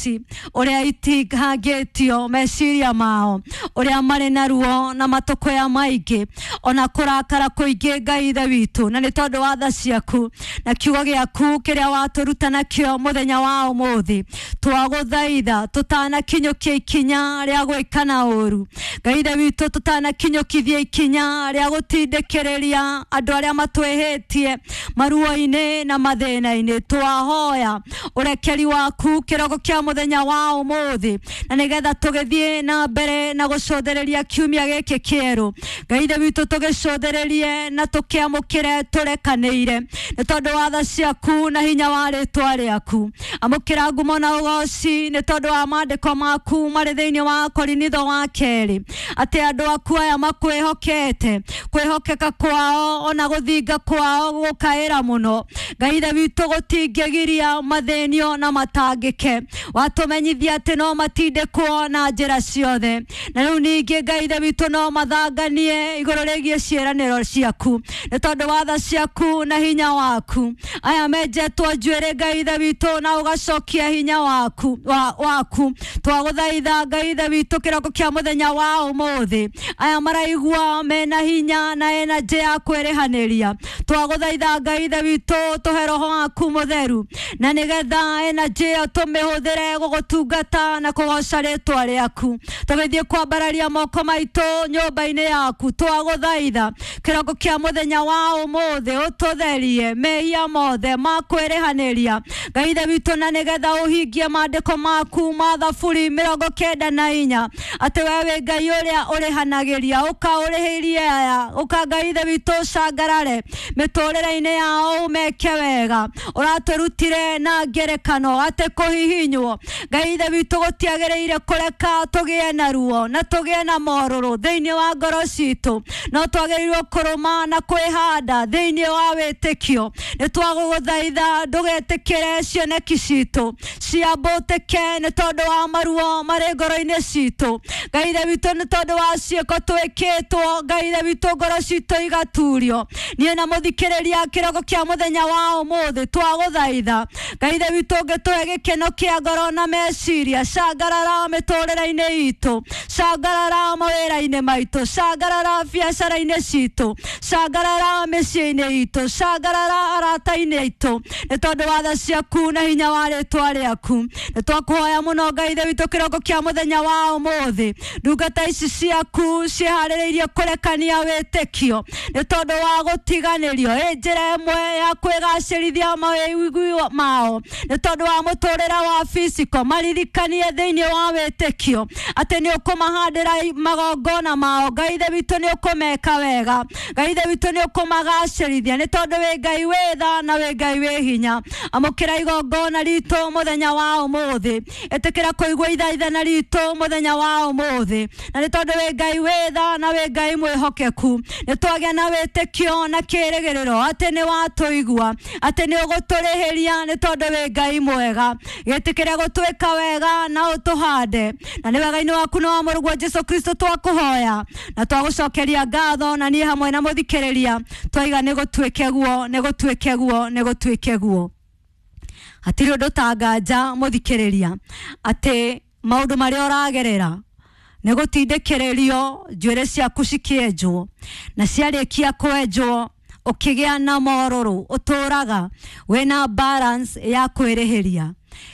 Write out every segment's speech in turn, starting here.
ici ũrĩa itingangĩtio meciria mao, ũrĩa marĩ na ruo na matũkũya maingĩ ona kũrakara kũingĩ Ngai ithe witũ, na nĩ tondũ wa tha ciaku na kiugo gĩaku kĩrĩa watũruta nakĩo mũthenya wa ũmũthĩ, twagũthaitha tũtanakinyũkia ikinya rĩa gwĩkana ũru Ngai ithe witũ, tũtanakinyũkithia ikinya rĩa gũtindĩkĩrĩria andũ arĩa matwĩhĩtie maruo-inĩ na mathĩna-inĩ, twahoya ũrekeri waku kĩroko kĩa mũthenya wa ũmũthĩ, na nĩgetha tũgĩthiĩ na mbere na gũcũthĩrĩria kiumia gĩkĩ kĩerũ Ngai ithe witũ, tũgĩcũthĩrĩrie na tũkĩamũkĩre tũrekanĩire nĩ tondũ wa tha ciaku na hinya wa rĩtwa rĩaku. Amũkĩra ngumo na ũgoci nĩ tondũ wa maandĩko maku marĩ thĩinĩ wa Korinitho wa kerĩ, atĩ andũ aku aya makwĩhokete, kwĩhokeka kwao ona gũthinga kwao gũkaĩra mũno Ngai ithe witũ gũtingĩgiria mathĩnio na matangĩke. Watũmenyithia atĩ no matindĩkwo na njĩra ciothe, na rĩu ningĩ Ngai ithe witũ no mathanganie igũrũ rĩgiĩ ciĩranĩro ciaku nĩ tondũ wa tha ciaku na hinya waku. Aya menjetwo njuĩrĩ Ngai ithe witũ na ũgacokia hinya waku waku, twagũthaitha Ngai ithe witũ kĩroko kĩa mũthenya wa ũmũthĩ, aya maraigua mena hinya na energy ya kwĩrĩhanĩria, twagũthaitha Ngai ithe witũ tũhe roho waku mũtheru, na nĩgetha energy ĩyo tũmĩhũthĩre gũgũtungata na kũgoca rĩtwa rĩaku. Tũgĩthiĩ kwambararia moko maitũ nyũmba-inĩ yaku, twagũthaitha kĩroko kĩa mũthenya wa ũmũthĩ ũtũtherie mehia mothe ma kwĩrĩhanĩria Ngai ithe witũ, na nĩgetha ũhingie maandĩko maku ma Thaburi 94 atĩ we wĩ Ngai ũrĩa ũrĩhanagĩria, ũka ũrĩhĩrie aya, ũka Ngai ithe witũ ũcangarare mĩtũrĩre-inĩ yao ũmeke wega. Ũratũrutire na ngerekano atĩ kũhihinywo Ngai ithe witũ gũtiagĩrĩire kũreka tũgĩe na ruo na tũgĩe na morũrũ thĩinĩ wa ngoro citũ, no twagĩrĩirwo kũrũma na kwĩhanda thĩinĩ wa wĩtĩkio. Nĩ twagũgũthaitha ndũgetĩkĩre cioneki citũ ciambũtĩke nĩ tondũ wa maruo marĩ ngoro-inĩ citũ Ngai ithe witũ, nĩ tondũ wa ciĩko twĩkĩtwo Ngai ithe witũ ngoro citũ igaturio. Niĩ na mũthikĩrĩria kĩroko kĩa mũthenya wa ũmũthĩ twagũthaitha Ngai ithe witũ ũngĩtũhe gĩkeno kĩa ngoro na meciria, cangarara mĩtũrĩre-inĩ itũ, cangarara mawĩra-inĩ maitũ, cangarara biacara-inĩ citũ, cangarara mĩciĩ-inĩ itũ, cangarara arata-inĩ aitũ, nĩ tondũ wa tha ciaku na hinya wa rĩtwa rĩaku. Nĩ twakũhoya mũno Ngai ithe witũ kĩroko kĩa mũthenya wa ũmũthĩ, ndungata ici ciaku ciĩharĩrĩirie kũrekania wĩtĩkio nĩ tondũ wa gũtiganĩrio ĩ njĩra ĩmwe ya kwĩgacĩrithia mawĩiguo mao nĩ tondũ wa mũtũrĩre wa physical, maririkanie thĩinĩ wa wĩtĩkio atĩ nĩ ũkũmahandĩra magongona mao Ngai ithe witũ, nĩ ũkũmeka wega Ngai ithe witũ, nĩ ũkũmagacĩrithia nĩ tondũ wĩ Ngai wĩ tha na wĩ Ngai wĩ hinya. Amũkĩra igongona ritũ mũthenya wa ũmũthĩ, ĩtĩkĩra kũigua ithaithana ritũ mũthenya wa ũmũthĩ, na nĩ tondũ wĩ Ngai wĩ tha na wĩ Ngai mwĩhokeku, nĩ twagĩa na wĩtĩkio na kĩĩrĩgĩrĩro atĩ nĩ watũigua, atĩ nĩ ũgũtũrĩhĩria nĩ tondũ wĩ Ngai mwega. Gĩtĩkĩre gũtwĩka wega na ũtũhande, na nĩ wega-inĩ waku na wa mũrũguo Jesu Kristo twakũhoya na twagũcokeria ngatho, na niĩ hamwe na mũthikĩrĩria twaiga nĩ gũtuĩke guo, nĩ gũtuĩke guo, nĩ gũtuĩke guo. Hatirĩ ũndũ tanganja mũthikĩrĩria atĩ maũndũ marĩa ũragerera nĩ gũtindĩkĩrĩrio njuĩrĩ ciaku cikĩenjwo, na ciarĩkia kwenjwo ũkĩgĩa na morũrũ ũtũraga wĩna balance ya kwĩrĩhĩria.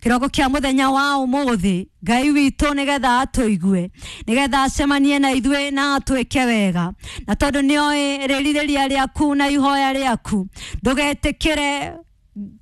Kĩroko kĩa mũthenya wa ũmũthĩ Ngai witũ nĩgetha atũigue, nĩgetha acemanie na ithuĩ na atwĩke wega, na tondũ nĩoĩ rĩrirĩria rĩaku na ihoya rĩaku, ndũgetĩkĩre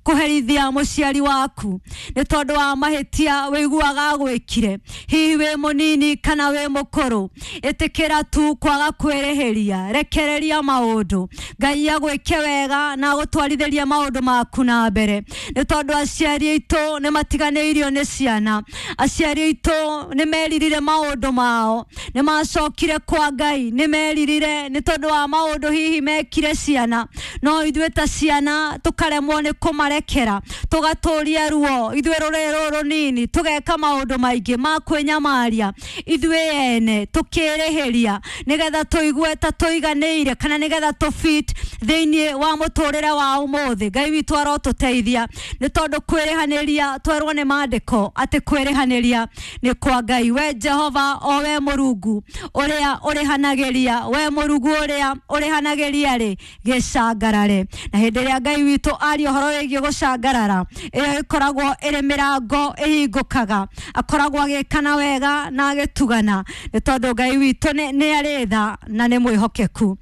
kũherithia mũciari waku nĩ tondũ wa mahĩtia wĩiguaga agwĩkire, hihi wĩ mũnini kana wĩ mũkũrũ. Ĩtĩkĩra tu kwaga kwĩrĩhĩria, rekereria maũndũ Ngai agwĩke wega na agũtwarithĩrie maũndũ maku na mbere, nĩ tondũ aciari aitũ nĩ matiganĩirio nĩ ciana, aciari aitũ nĩ meririre maũndũ mao, nĩ macokire kwa Ngai, nĩ meririre nĩ tondũ wa maũndũ hihi mekire ciana, no ithuĩ ta ciana tũkaremwo nĩ kũmarekera, tũgatũria ruo ithuĩ rũrĩrĩ rũrũ rũnini, tũgeka maũndũ maingĩ ma kwĩnyamaria ithuĩ ene, tũkĩrĩhĩria nĩgetha tũigue ta tũiganĩire kana nĩgetha tũfit thĩinĩ wa mũtũrĩre wa ũmũthĩ. Ngai witũ arotũteithia, nĩ tondũ kwĩrĩhanĩria twerwo nĩ maandĩko atĩ kwĩrĩhanĩria nĩ kwa Ngai. We Jehova, o we Mũrungu ũrĩa ũrĩhanagĩria, we Mũrungu ũrĩa ũrĩhanagĩria rĩ, gĩcangarare. Na hĩndĩ ĩrĩa Ngai witũ aria ũhoro wĩgiĩ gũcangarara, ĩyo ĩkoragwo ĩrĩ mĩrango ĩhingũkaga, akoragwo agĩkana wega na agĩtugana, nĩ tondũ Ngai witũ nĩ arĩ tha na nĩ mwĩhokeku.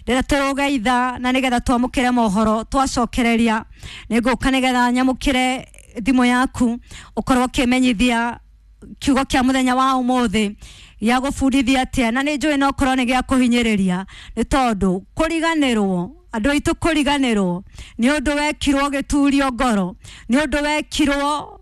Rĩrĩa tũrũge itha na nĩgetha twamũkĩre mohoro, twacokereria nĩ ngũka nĩgetha nyamũkĩre thimũ yaku ũkorwo ũkĩmenyithia kiugo kĩa mũthenya wa ũmũthĩ gĩa gũbundithia atĩa, na nĩ njũĩ no korwo nĩ gĩa kũhinyĩrĩria, nĩ tondũ kũriganĩrwo, andũ aitũ kũriganĩrwo nĩ ũndũ wekirwo gĩturio ngoro, nĩ ũndũ wekirwo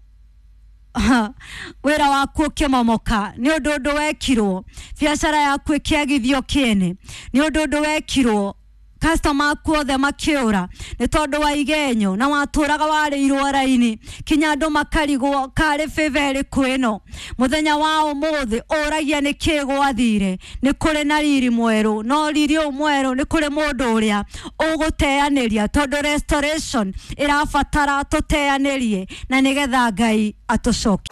wĩra waku ũkĩmomoka, nĩ ũndũ wekirwo biacara yaku ĩkĩagithio kĩene, nĩ ũndũ wekirwo customer aku othe makĩũra nĩ tondũ wa igenyo na watũraga warĩirwo raini kinya andũ makarigwo karĩ favor ĩrĩkũ ĩno. Mũthenya wa ũmũthĩ ũragia nĩ kĩ gwathire, nĩ kũrĩ na riri mwerũ, no riri ũyũ mwerũ nĩ kũrĩ mũndũ ũrĩa ũgũteanĩria, tondũ restoration ĩrabatara tũteanĩrie na nĩgetha Ngai atũcokie.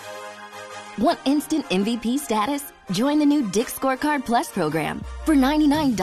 Want instant MVP status? Join the new Dick's Scorecard Plus program. For $99,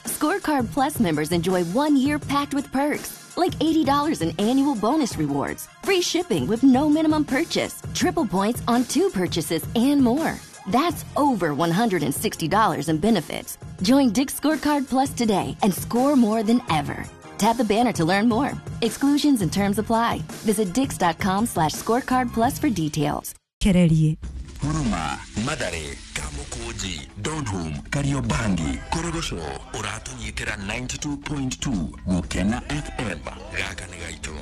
Scorecard Plus members enjoy 1 year packed with perks, like $80 in annual bonus rewards, free shipping with no minimum purchase, triple points on 2 purchases, and more. That's over $160 in benefits. Join Dick's Scorecard Plus today and score more than ever. Tap the banner to learn more. Exclusions and terms apply. Visit dicks.com/scorecard plus for details. Kererie. Huruma, Mathare, Kamukunji, Donholm, Kariobangi, Korogocho, ũratũnyitĩra 92.2 Gũkena FM. Gaka nĩ gaitũ.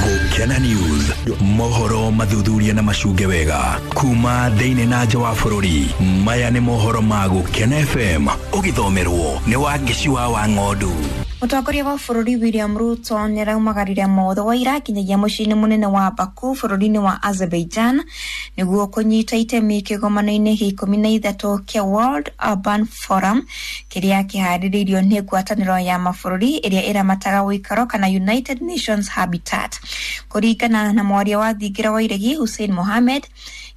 Gũkena News, mohoro mathuthuria na macunge wega kuma thĩinĩ na nja wa bũrũri. Maya nĩ mohoro ma Gũkena FM, ũgĩthomerwo nĩ Wangeci wa Wang'ondu. Mũtongoria wa bũrũri William Ruto nĩ araumagarire motho wa ira nginyagia mũciĩ-inĩ mũnene wa Baku bũrũri-inĩ wa Azerbaijan nĩguo kũnyita itemi kĩgomano-inĩ gĩa 13 kĩa World Urban Forum kĩrĩa kĩharĩrĩirio nĩ ngwatanĩro ya mabũrũri ĩrĩa ĩramataga ũikaro kana United Nations Habitat. Kũringana na mwaria wa thingira wa iregi Hussein Mohamed,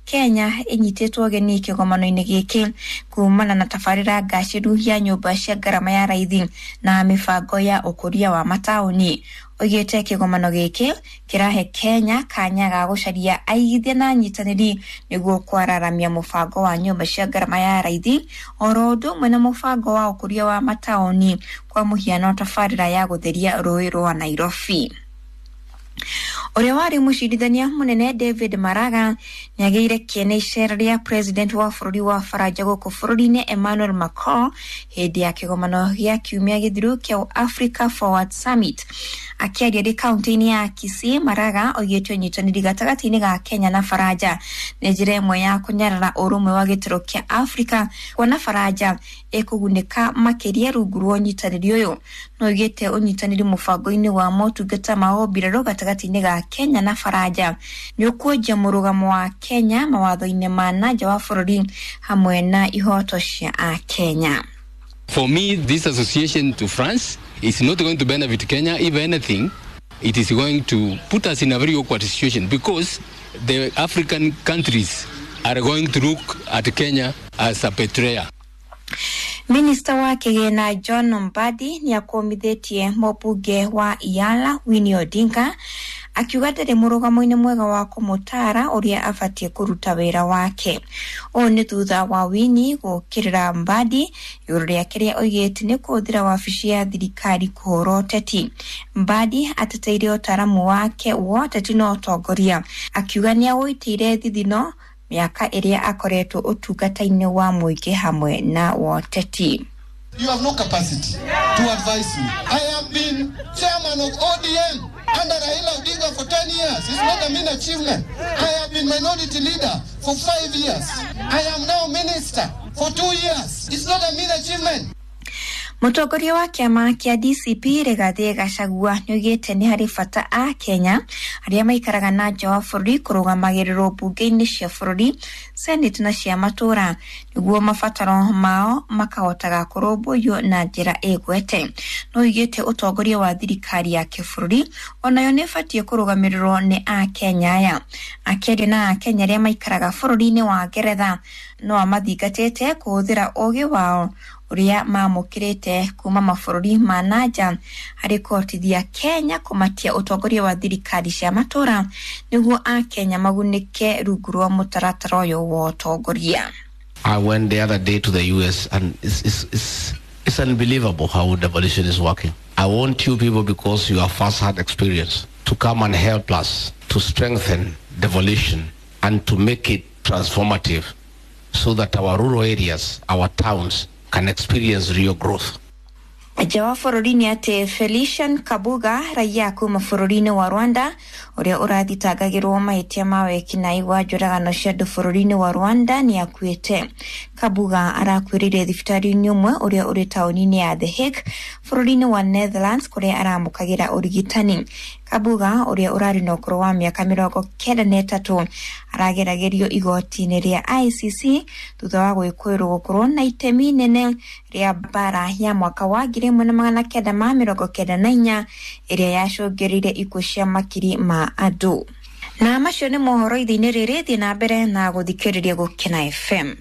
Kenya ĩnyitĩtwo ũgeni kĩgomano-inĩ gĩkĩ kumana na tabarĩra ngacĩru ya nyũmba cia ngarama ya raithi na mĩbango ya ũkũria wa mataũni. Oigĩte kĩgomano gĩkĩ kĩrahe Kenya kanya ga gũcaria aigithia na anyitanĩri nĩguo kwararamia mũbango wa nyũmba cia ngarama ya raithi oro ũndũ ũmwe na mũbango wa ũkũria wa mataũni, kwa mũhiano tabarĩra ya gũtheria rũĩ rwa Nairobi. Ũrĩa warĩ mũcirithania mũnene David Maraga nĩagĩire kĩene icera rĩa president wa bũrũri wa Faranja gũkũ bũrũri-inĩ Emmanuel Macron hĩndĩ ya kĩgomano gĩa kiumia gĩthiru kĩa Africa Forward Summit. Akĩaria rĩ kaunti-inĩ ya Kisii, Maraga oigĩte ũnyitanĩri gatagatĩ-inĩ ga Kenya na Faranja nĩ njĩra ĩmwe ya kũnyarara ũrũmwe wa gĩtarũ kĩa Afrika, kuona Faranja ĩkũgunĩka makĩria rungu rwa ũnyitanĩri ũyũ. No oigĩte ũnyitanĩri mũbango-inĩ wa motungata ma ũmbirarũ gatagatĩ-inĩ ga Kenya na Faranja nĩ ũkuonjia mũrũgamo wa Kenya mawatho-inĩ ma na nja wa bũrũri hamwe na ihoto cia Akenya. For me, this association to France is not going to benefit Kenya. If anything, it is going to put us in a very awkward situation because the African countries are going to look at Kenya as a betrayer. Minista wa kĩgĩna John Mbadi nĩ akũmithĩtie mũmbunge wa Iala Winnie Odinga akiuga ndarĩ mũrũgamo-inĩ mwega wa kũmũtaara ũrĩa abatiĩ kũruta wĩra wake. Ũũ nĩ thutha wa Winnie gũũkĩrĩra Mbadi igũrũ rĩa kĩrĩa oigĩte nĩ kũhũthĩra wabici ya thirikari kũhũra ũteti. Mbadi ateteire ũtaaramu wake wa ũteti na ũtongoria akiuga nĩ awũitĩire thithino miaka ĩrĩa akoretwo ũtungata-inĩ wa mũingĩ hamwe na woteti. You have no capacity to advise me. I have been chairman of ODM under Raila Odinga for 10 years. It's not a mean achievement. I have been minority leader for 5 years. I am now minister for 2 years. It's not a mean achievement. Mũtongoria wa kĩama kĩa DCP Rigathĩ Gachagua nĩoigĩte nĩ harĩ bata a Kenya arĩa maikaraga na nja wa bũrũri kũrũgamagĩrĩrwo mbunge-inĩ cia bũrũri, senate na cia matũũra nĩguo mabataro mao makahotaga kũrũmbũiyo na njĩra ĩgwete. No oigĩte ũtongoria wa thirikari ya kĩbũrũri onayo nĩ ĩbatiĩ kũrũgamĩrĩrwo nĩ akenya aya. Akĩaria na akenya arĩa maikaraga bũrũri-inĩ wa Ngeretha no amathingatĩte kũhũthĩra ũũgĩ wao ũrĩa mamũkĩrĩte kuma mabũrũri ma na nja harĩ kũhotithia Kenya kũmatia ũtongoria wa thirikari cia matũũra nĩguo akenya magunĩke rungu rwa mũtaratara ũyũ wa ũtongoria. I went the other day to the US and it's unbelievable how devolution is working. I want you people, because you have first-hand experience, to come and help us to strengthen devolution and to make it transformative so that our rural areas, our towns, can experience real growth. Nja wa bũrũri nĩ atĩ Felician Kabuga raia kuma bũrũri-inĩ wa Rwanda ũrĩa ũrathitangagĩrwo mahĩtia ma wĩkinaĩ wa njũragano cia andũ bũrũri-inĩ wa Rwanda nĩ akuĩte. Kabuga arakuĩrĩire thibitarĩ-inĩ ũmwe ũrĩa ũrĩ taũni-inĩ ya The Hague bũrũri-inĩ wa Netherlands kũrĩa aramũkagĩra ũrigitani. Kabuga ũrĩa ũrarĩ na ũkũrũ wa mĩaka 93 arageragĩrio igoti-inĩ rĩa ICC thutha wa gwĩkũĩrwo gũkorwo na itemi inene rĩa mbara ya mwaka wa 1994 ĩrĩa yacũngĩrĩirie ikuũ cia makiri ma andũ. Na macio nĩ mohoro ithe-inĩ rĩrĩ, thiĩ na mbere na gũthikĩrĩria Gũkena FM.